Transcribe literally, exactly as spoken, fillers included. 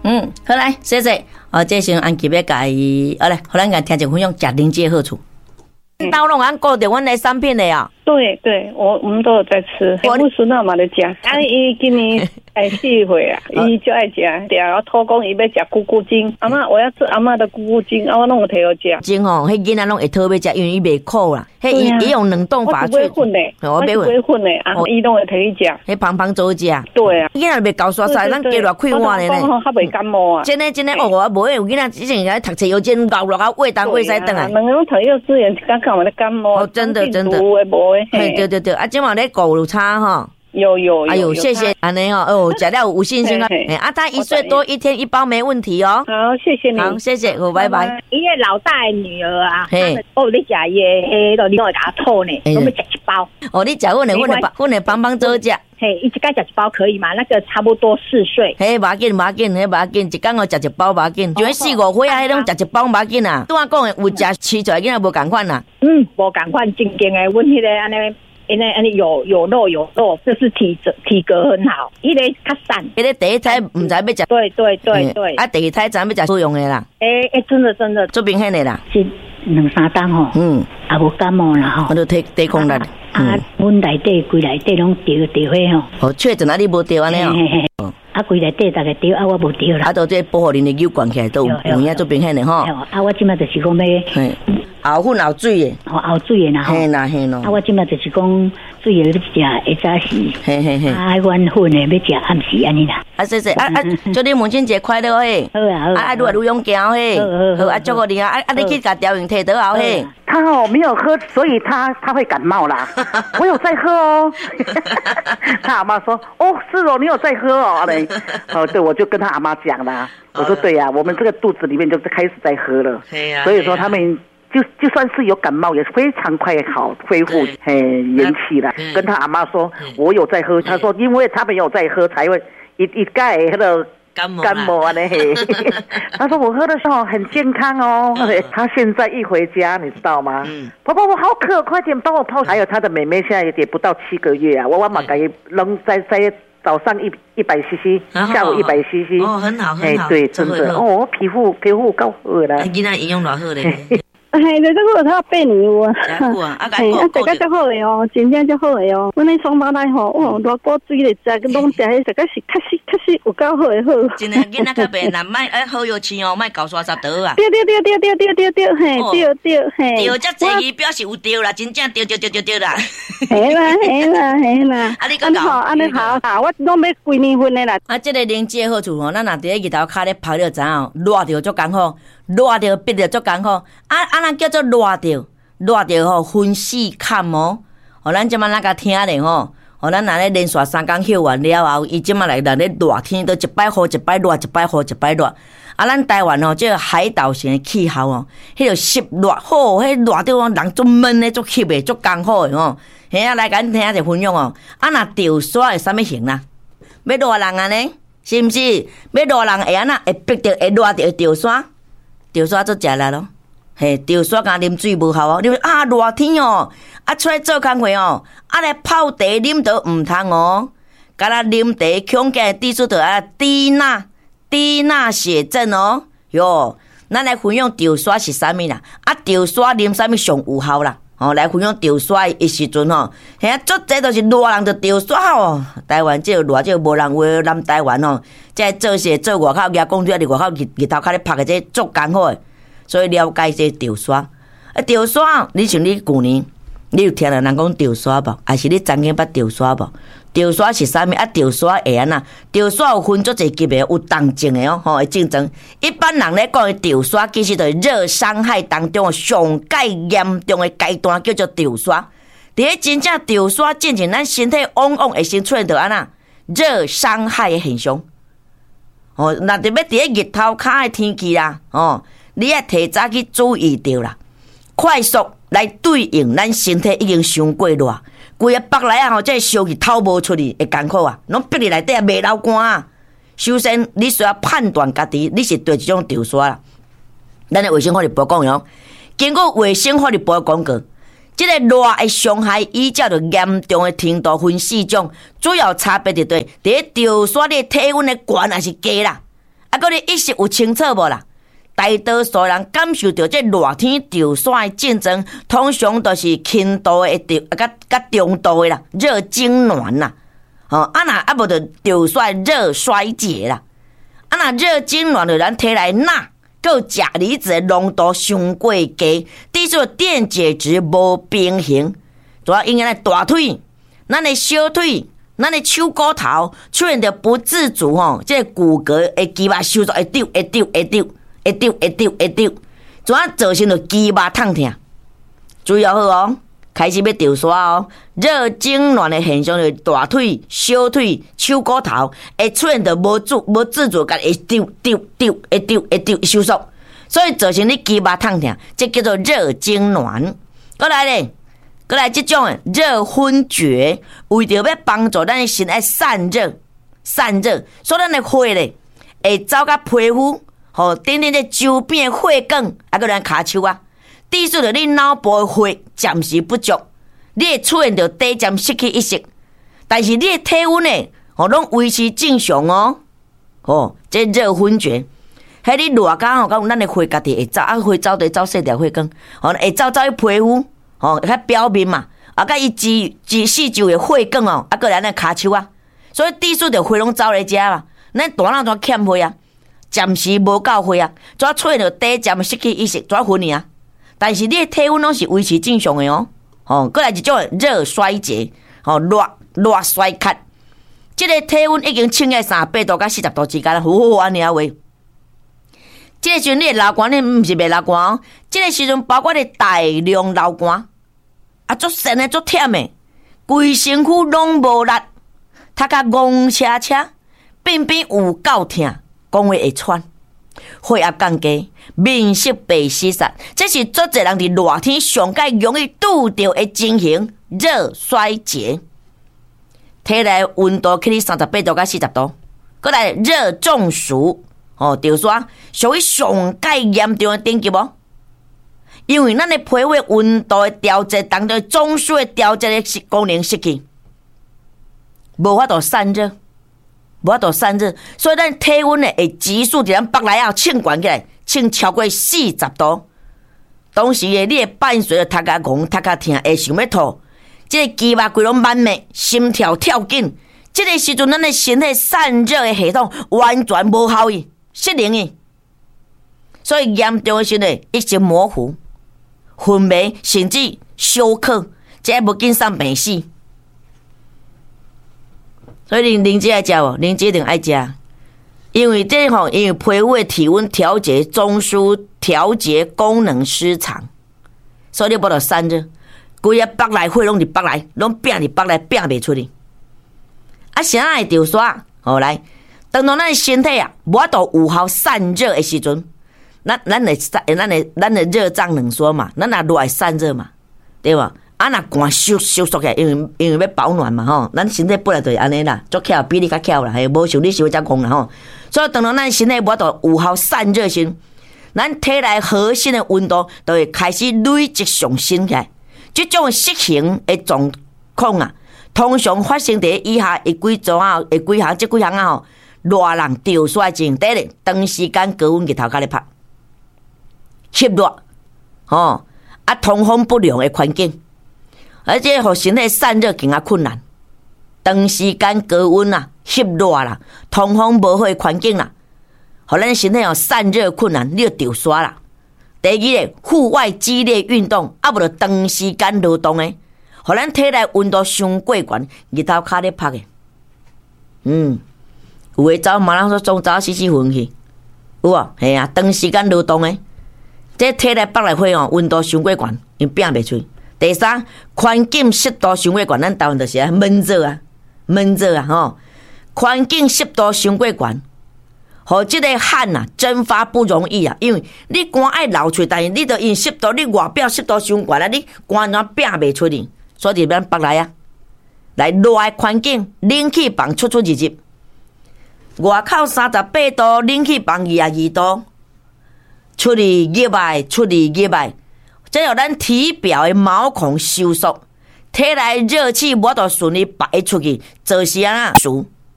嗯，好來，謝謝。哦，這時陣安吉欲共伊，好來，予咱共聽眾分享食靈芝的好處。兜攏按顧著阮的產品的啊。對對，我我們都有在吃。我孫仔嘛咧食，啊，伊今年會四歲啊，伊就愛食，定我托講伊欲食菇菇精，阿嬤我要吃阿嬤的菇菇精，啊我攏有提予食。精吼，彼囡仔攏會討欲食，因為伊袂苦啦。彼伊伊用冷凍法我買粉的，我買粉的，啊，伊攏會提去食。彼芳芳做食。對啊，囡仔袂厚沙沙，咱加熱開碗的呢。較袂感冒啊。真的真的，哦，我無有囡仔之前咧讀冊幼稚園熬熱啊，胃東胃西轉來。兩个攏讀幼稚園，剛剛嘛咧感冒。哦，真的真的。有的無的。嘿，對對對，啊，這馬咧顧有差吼。有有。哎呦，謝謝，按呢哦，哦，食了有信心啊！啊，他一歲多，一天一包沒問題哦。好，謝謝你。好，謝謝，好，拜拜。伊个老大的女兒啊，哦，你食伊的，彼個你攏會共我吐呢，攏欲食一包。哦，你食阮的，阮的，阮的幫幫做食。嘿，伊一擺食一包可以嗎？那個差不多四歲。嘿，無要緊，無要緊，彼無要緊，一工哦食一包無要緊。像四五歲啊，彼攏食一包無要緊啊。拄仔講的有食飼出來囡仔無仝款啦。嗯，無仝款，真正的，阮彼个按呢。因為按呢有有肉有肉，就是體質體格很好。彼个較瘦，彼个第一胎毋知欲食。對對對對。啊，第二胎知欲食好用的啦。欸欸，真的真的，足明顯的啦。這兩三冬吼，嗯，也無感冒啦吼。我都體抵抗力。啊，阮內底規內底攏著著火吼。哦，確診啊，你無著按呢哦。啊，規內底逐个著，啊，我無著啦。啊，都這保護恁的乳管起來都有有影足明顯的吼。啊，我這馬就是講欲。熬粉熬水的，哦，熬水的啦吼。嘿啦嘿咯。啊，我這馬就是講水的欲食下早時，嘿嘿嘿。啊，阮粉的欲食暗時按呢啦。啊，謝謝，啊啊，祝你母親節快樂嘿。好啊好啊。啊，愈來愈勇健嘿。好好啊，祝福你啊，啊啊，你去共調用提倒後嘿。他哦沒有喝，所以他他會感冒啦。我有在喝哦。他阿媽說：哦，是哦，你有在喝哦。哦，對，我就跟他阿媽講啦。我說對呀，我們這個肚子裡面就開始在喝了。所以說他們。就就算是有感冒，也是非常快好恢復，嘿，元氣了。跟他阿媽說，我有在喝，他說因為他們有在喝，才會一一蓋那個感冒啊咧。他說我喝的時候很健康哦。他現在一回家，你知道嗎？婆婆我好渴，快點幫我泡。還有他的妹妹現在也不到七個月啊，我我嘛共伊攏在在早上一一百 C C，下午一百 C C。哦，很好很好。對，真的哦，皮膚皮膚夠好啦。囡仔營養偌好咧。嘿，就這個他八年有啊，嘿，啊，食甲足好的哦，真正足好的哦。阮彼雙胞胎吼，哦，偌古錐咧食，攏食彼食甲是確實確實有夠好的好。真的，囡仔較袂難，莫愛好藥飼哦，莫厚沙沙就好啊。對對對對對對對對，嘿，對對嘿。對，遮濟伊表示有對啦，真正對對對對對啦。嘿啦嘿啦嘿啦。啊，你講好，按呢好，啊，我攏欲規年份的啦。啊，這個靈芝的好處吼，咱若佇咧日頭跤咧曬了知影哦，熱著足艱苦，熱著逼著足艱苦。啊啊，咱叫做熱著，熱著吼分四坎哦。哦，咱這馬咱共聽咧吼。哦，咱若咧連續三工歇完了後，伊這馬來來咧熱天，都一擺雨一擺熱，一擺雨一擺熱。啊，咱台灣吼，這個海島型的氣候哦，彼個濕熱好，彼熱著人足悶的、足翕的、足艱苦的吼。嘿啊，來共恁聽一下分享哦。啊，若著沙會啥物型啦？欲熱人按呢？是毋是？欲熱人會按怎？會逼著會熱著會著沙，著沙足食力咯。嘿，著沙敢啉水無效哦。你啊熱天哦，啊出來做工課哦，啊來泡茶啉都毋通哦。敢若啉茶恐驚滴出著啊低鈉低鈉血症哦。喲，咱來分享著沙是啥物啦？啊，著沙啉啥物上有效啦？哦，來分享著沙的時陣吼，嘿啊，足濟都是熱人就著沙哦。台灣這個熱，這個無人話南台灣吼，這做事做外口舉公車佇外口日日頭跤咧曬的這足艱苦的，所以了解這著沙。啊，著沙，你像你舊年，你有聽著人講著沙無？還是你曾經捌著沙無？著沙是啥物？啊，著沙會按怎？著沙有分足濟級別，有重症的哦，吼，會症狀。一般人咧講的著沙，其實就是熱傷害當中上蓋嚴重的階段，叫做著沙。佇咧真正著沙進前，咱身體往往會先出現著按怎？熱傷害的現象。哦，若特別佇咧日頭跤的天氣啦，哦，你愛提早去注意著啦，快速來對應咱身體已經傷過熱。規个腹內啊吼，這個燒氣透無出去，會艱苦啊，攏逼佇內底啊，袂流汗啊。首先，你需要判斷家己你是對一種著沙啦。咱的衛生福利部講喲，根據衛生福利部的廣告，這個熱的傷害依照著嚴重的程度分四種，主要差別佇佗，佇咧著沙你的體溫的懸抑是低啦。啊，閣你意識有清楚無啦？大多數人感受著這熱天著痧的症狀，通常都是輕度的著，啊，佮佮中度的啦，熱痙攣啦，吼，啊若啊無就著痧熱衰竭啦，啊若熱痙攣就咱體內鈉佮鉀離子的濃度傷過低，致使電解質無平衡，主要影響咱大腿、咱的小腿、咱的手骨頭出現著不自主吼，這個骨骼的肌肉收縮會丟會丟會丟。會丟會丟會丟，怎啊造成著肌肉痛疼？注意好哦，開始欲著痧哦。熱痙攣的現象就是大腿、小腿、手骨頭會出現著無主無自主，共會丟丟丟會丟會丟收縮，所以造成你肌肉痛疼，這叫做熱痙攣。閣來咧，閣來這種的熱昏厥，為著欲幫助咱的身體散熱、散熱，所以咱的血咧會走到皮膚。吼，等等這周邊的血管，啊，閣咱跤手啊，致使著你腦部的血暫時不足，你會出現著短暫失去意識，但是你的體溫呢，吼，攏維持正常哦。吼，這熱昏厥，彼你熱甲吼，敢有咱的血家己會走，啊，血走就走細條血管，吼，會走走去皮膚，吼，較表面嘛，啊，佮伊周周四周的血管哦，啊，閣來咱跤手啊，所以致使著血攏走來遮嘛，咱大腦怎欠血啊？暫時無夠血啊，怎出現著短暫失去意識，怎昏去啊？但是你的體溫攏是維持正常的哦。吼，閣來一種熱衰竭，吼，熱熱衰竭，這個體溫已經衝在三十八度佮四十度之間，呼按呢啊話。這個時陣你會流汗，你毋是袂流汗哦。這個時陣包括你大量流汗，啊，足跣的足忝的，規身軀攏無力，頭殼戇車車，便便有夠疼。講話會喘，血壓降低，面色白死煞，這是足濟人佇熱天上蓋容易拄著的情形。熱衰竭，體內溫度去三十八度佮四十度，閣來熱中暑，吼，著痧屬於上蓋嚴重的等級無？因為咱的皮膚溫度的調節當中，中樞的調節的功能失去，無法度散熱。無法度散熱，所以咱體溫呢會急速佇咱腹內仔衝懸起來，衝超過四十度。當時的你會伴隨著頭殼戇、頭殼疼，會想欲吐，這個肌肉規攏慢的，心跳跳緊。這個時陣，咱的身體散熱的系統完全無效去，失靈去。所以嚴重的時陣，意識模糊、昏迷，甚至休克，這無緊送病死。所以靈芝愛食無？靈芝一定愛食，因為這吼，因為皮膚的體溫調節中樞調節功能失常，所以你無法度散熱，規个腹內血攏佇腹內，攏屏佇腹內，屏袂出去。啊，啥會著痧？好來，當當咱身體啊，無法度有效散熱的時陣，咱咱會散，咱會咱的熱脹冷縮嘛，咱若熱會散熱嘛，對無？啊，若寒收收縮起來，因為因為欲保暖嘛吼，咱身體本來就是按呢啦，足巧，比你較巧啦，嘿，無像你想遮戇啦吼。所以當當咱身體無法度有效散熱時，咱體內核心的溫度就會開始累積上升起來。這種失衡的狀況啊，通常發生佇以下的幾種啊，的幾項，這幾項啊吼，熱人著痧症，第一，長時間高溫日頭跤咧曬，濕熱，吼，啊，通風不良的環境。而且予身體散熱更加困難，長時間高溫啊、濕熱啦、通風無好的環境啦，予咱身體有散熱困難，你就著痧啦。第二個，戶外激烈運動，啊無就長時間勞動的，予咱體內溫度傷過懸，日頭跤咧曬的。嗯，有的走馬拉松走死死昏去，有無？嘿啊，長時間勞動的，這體內腹內血哦，溫度傷過懸，伊屏袂出。第三，環境濕度傷過懸，咱台灣就是啊悶熱啊，悶熱啊吼。環境濕度傷過懸，予這個汗啊蒸發不容易啊，因為你汗愛流出，但是你著因濕度，你外表濕度傷懸啊，你汗怎屏袂出去？所以佇咱腹內啊，來熱的環境，冷氣房出出入入，外口三十八度，冷氣房二十二度，出去入來，出去入來。這予咱體表的毛孔收縮，體內熱氣無法度順利排出去，造成啊，暑。